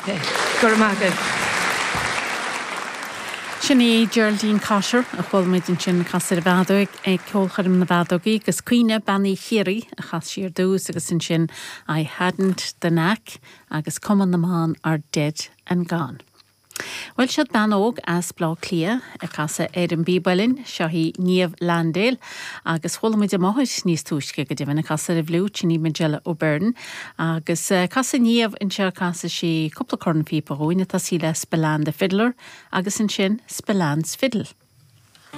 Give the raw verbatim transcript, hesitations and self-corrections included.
Okay. Go raibh maith agaibh. Sin í Geraldine Cotter a chuala muid ansin ag casadh ar an bhfeadóg ag ceolchoirm na bhfeadógaí agus Caoineadh Bean Uí Chiarraí a chas sí ar dtús agus ansin I hadn't the knack agus Cumann na mBan are dead and gone. Bhuel seo bean óg as Bleá Cliath ag casadh ar an bpíb uilleann seo í Niamh Landale agus chuala muid a máthair níos túisce go deimhin ag casadh ar an bhfliúit sin í Majella O'Byrne agus uh, casfaidh Niamh anseo casfaidh sí cúpla cornphíopa dúinn atá sí le Spillane the Fiddler agus ansin Spillane's Fiddle.